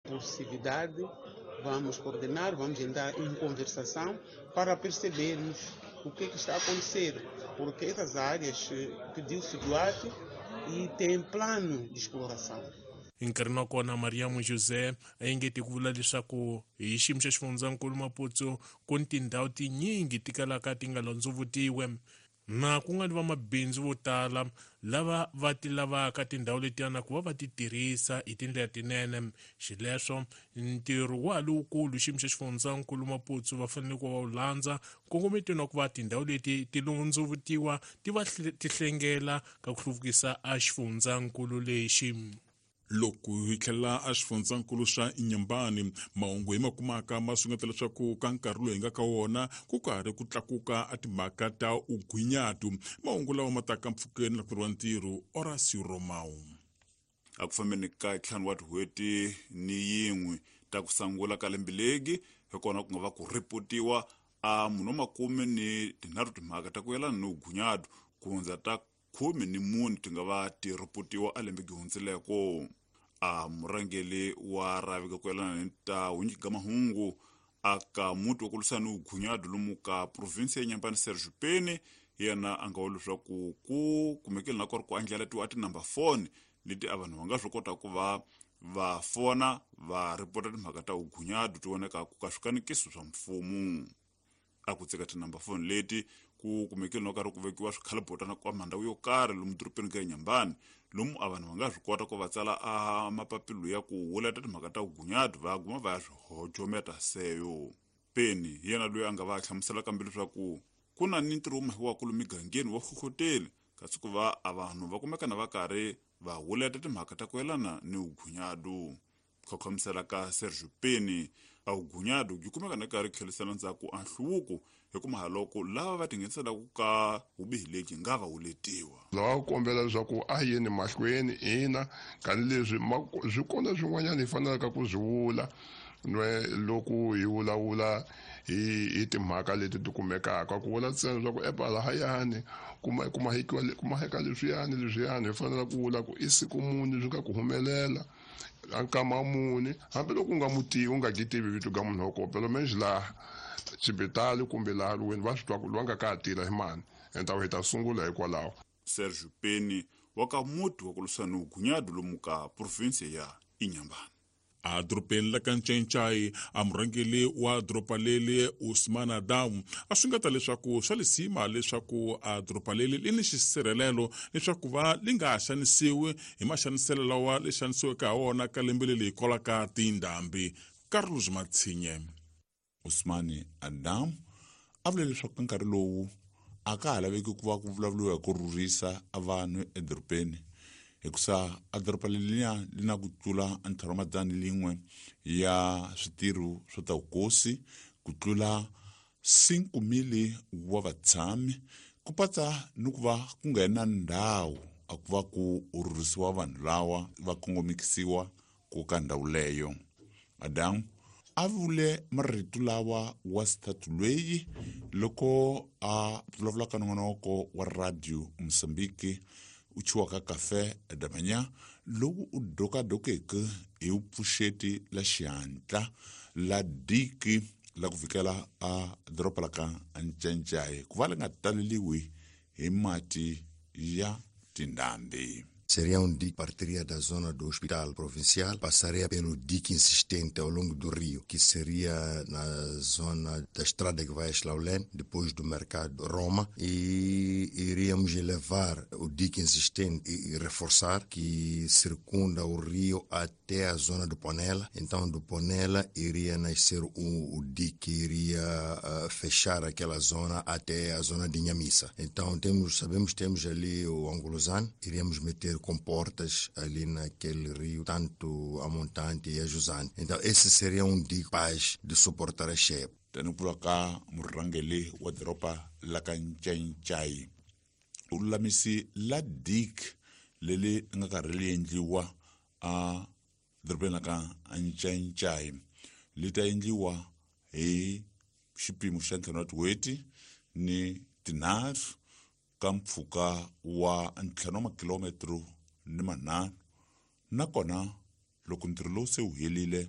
Impulsividade, vamos coordenar, vamos entrar em conversação para percebermos o que é que está a acontecer, porque essas áreas pediu-se doate e tem plano de exploração. Hi nkarhini wa kona, Mariamo José a engete ku vula leswaku hi xiyimo xa xifundzankulu Maputo ku ni tindhawu tinyingi ti kalaka ti nga londzovutiwe na ku nga ni vamabindzu vo tala lava va ti lavaka tindhawu letiyana ku va va ti tirhisa hi tindlela tinene. Xileswo ntirho wa ha lowukulu xiyimo xa xifundzankulu Maputo va fanele ku va wu landza nkongometweni wa ku va tindhawu leti ti londzovutiwa ti va ti hlengela ka ku hluvukisa a xifundzankulu lexi. Loko hi tlhela a xifundzankulu xa Inhambane, mahungu hi ma kumaka ma sungeta leswaku ka nkarhi lowu hi nga ka wona ku karhi ku tlakuka a timhaka ta ugwinyatu. Mahungu lawa ma taka mpfhukeni na ku ntirho Horacio Romao. A ku fambeni ka ntlhanu wa tin'hweti ni yin'we ta ku sangula ka lembe legi, hi kona ku nga va ku ripotiwa a munhu wa 13 timhaka ta ku yelana ni ugunyadu, ku hundza ta 14 ti nga va ti ripotiwa a lembe gihundzileko. A murhangeri wa rhavi ka ku yelana ni ta hunyiki ka mahungu aka muti wa ku lwisana ni ugunyadu lomu ka provinsi ya Inhambane, Sergio Peni, yena a nga vula leswaku ku kumekile na ku ri ku andlalatiwa a tinumber phone leti a vanhu va nga swi kota ku va va fona va ripota timhaka ta ugunyadu ti vonekaku ka swikanekiso swa mfumo. A ku tseka tinumber phone leti ku kumekile no karhi ku vekiwa swikhalibotana kwa mandhawu yo karhi lomu dorobeni ka Inhambane, lomu a vanhu va nga swi kota ku va tsala a mapapilo ya ku wuleta timhaka ta ugunyadu va guma va ya swi hojometa seyo. Peni hi yena loyi a nga va hlamusela kambe leswaku ku na ni ntirho wu mahiwaka lomu migangeni wa hlohloteli, kasi ku va a vanhu va kumeka na va karhi va wuleta timhaka ta ku yelana ni ugunyadu. Khokhomisela ka Sergio Peni, a ugunyadu byi kumeka na karhi tlhelisela ndzhaku a nhluvuko, hikuva haloko lava va tingheniselaka ka vubihi lebyi nga va wuletiwa. Lava ku kombela leswaku a yeni mahlweni ina, tanihileswi swi kona swin'wanyana hi fanelaka ku swi vula nwe loko hi vulavula hi timhaka leti ti kumekaka, ku vula ntsena leswaku epa lahayani ku maheka leswiyani leswiyani, hi fanele ku vula ku i siku muni swi nga ku humelela a nkama muni, hambiloko u nga mu tivi, u nga gi tivi vito ga munhu wa kona, phela menje laha xibitali kumbe laha lweni va swi twa ku loyi a nga ka ha tirha hi mani, enta hi ta sungula hikwalaho. Sergio Peni wa ka muti wa ku lwisana ni ugunyadu lomu ka provinsi ya Inhambane. A dorobeni la ka Ncencai, a murhangeri wa doroba leli Usman Adam a swi nga ta leswaku swa lisima leswaku a doroba leli li ni xisirhelelo leswaku va li nga xanisiwi hi maxaniselo lawa li xanisiweke ha wona ka lembe leli hikwalaho ka tindhambi. Carlos Matsinye. Usman Adam a vule leswaku ka nkarhi lowu a ka ha laveki ku va ku vulavuriwa hi ku rhurhisa a vanhu edorobeni, hikusa a doroba leliya li na ku tlula ntlhanu wa madzana lin'we ya switirho swa ta vukosi, ku tlula 5,000 wa vatshami, ku patsa ni ku va ku nga na ndhawu a ku va ku rhurhisiwa vanhu lawa va kongomisiwa ku ka ndhawu leyo. Adam a vule marito lawa wa xithathu lweyi loko a vulavula ka nongonoko wa radio Mozambique u chiwaka Café da Manhã, lowu u dokadokeke hi vupfuxeti la xihatla la diki la ku fikela a doroba la ka Ncencai ku va li nga taleliwi hi mati ya tindhambi. Seria um dique que partiria da zona do hospital provincial, passaria pelo dique existente ao longo do rio, que seria na zona da estrada que vai a Xlaulene, depois do mercado Roma, e iríamos elevar o dique existente e reforçar, que circunda o rio até a zona do Ponela. Então, do Ponela iria nascer o dique que iria fechar aquela zona até a zona de Inhamissa. Então, sabemos que temos ali o Angolozano, iríamos meter comportas ali naquele rio, tanto a montante e a jusante. Então, esse seria um dique capaz de suportar a cheia. Tani ku ka murhangeri wa doroba la ka Ncencai, u lulamisi la dique leri nga karhi ri endliwa a dorobeni la ka Ncencai, li ta endliwa hi xipimo xa ntlhanu wa tin'hweti ni tinharhu ka mpfhuka wa ntlhanu wa makilometro ni manharhu, nakona loko ntirho lowu se wu helile.